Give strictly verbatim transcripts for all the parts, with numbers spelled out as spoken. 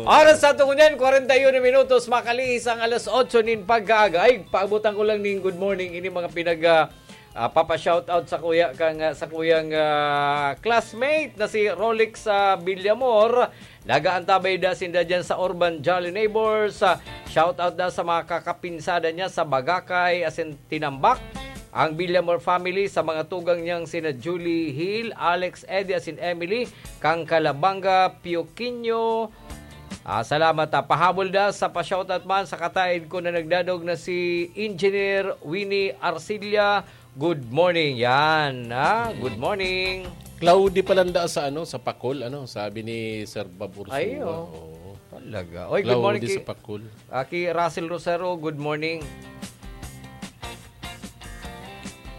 Oras sa tungo niyan, kwarenta y uno minutos, makalihis ang alas otso nin pagkaaga. Ay, paabutan ko lang ning good morning. Ini mga pinag, ah, ah, papa-shoutout sa kuya, kang, ah, sa kuyang, ah, classmate na si Rolex, ah, Villamor. Nagaantabay da sinda dyan sa Urban Jolly Neighbors. Ah, shoutout da sa mga kakapinsada niya sa Bagakay, asin Tinambak. Ang Villamor family sa mga tugang niyang sina Julie Hill, Alex, Eddie, asin Emily, kang Calabanga, Pioquinho. Ah, salamat, ah. Pahabol da sa pa-shoutout man sa kataid ko na nagdadog na si Engineer Winnie Arcilla. Good morning. Yan, ah. Good morning. Cloudy pala nda sa, ano, sa Pacol, ano, sabi ni Sir Bob Ursua. Ay, oo. Oo. Talaga. Oy, good morning Cloudy ki, sa Pacol. ah, ki Russell Rosero. Good morning.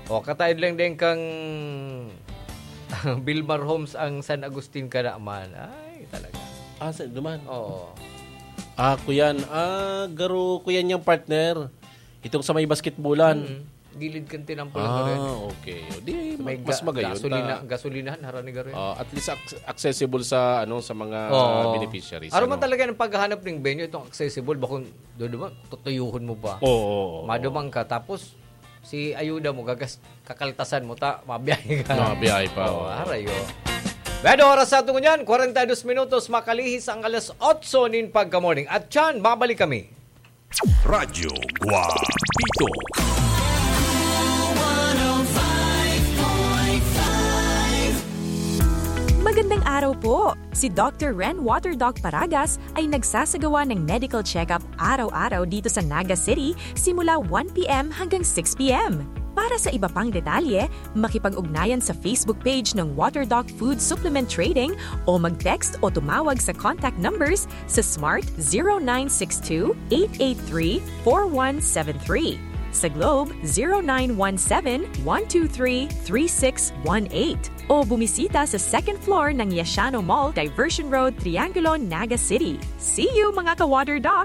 O, kataid lang din kang Bilmar Homes ang San Agustin ka naman. Ay, talaga. Ah, sa duman. Oo. Ah, kuyan. Ah, garo kuyan niyang partner. Itong sa may basketballan. Mm. Gilid kang tinampol na rin. Ah, okay. O, di, May mas ga- magayon. gasolina, ta- gasolinahan, harani garo yan. Ah, at least ac- accessible sa ano sa mga Oo. beneficiaries. Ano ano? man talaga ang paghahanap ng venue, itong accessible, bakong doon naman, tutuyuhon mo pa. Oo, oo, oo. Madumang ka, tapos si ayuda mo, gagas, kakaltasan mo, ta, mabiyahe ka. Mabiyahe pa, Oo, oo. Aray, oh. Pero oras sa atin ngunyan, kwarenta y dos minutos, makalihis ang alas otso nin pagka-morning. At yan, babalik kami. Radyo Guapito. Magandang araw po! Si Doctor Ren Water Doc Paragas ay nagsasagawa ng medical check-up araw-araw dito sa Naga City simula one p.m. hanggang six p.m. Para sa iba pang detalye, makipag-ugnayan sa Facebook page ng Water Doc Food Supplement Trading o mag-text o tumawag sa contact numbers sa Smart zero nine six two, eight eight three, four one seven three, sa Globe zero nine one seven, one two three, three six one eight, o bumisita sa second floor ng Yashano Mall, Diversion Road, Triangulo, Naga City. See you, mga ka-Water Doc!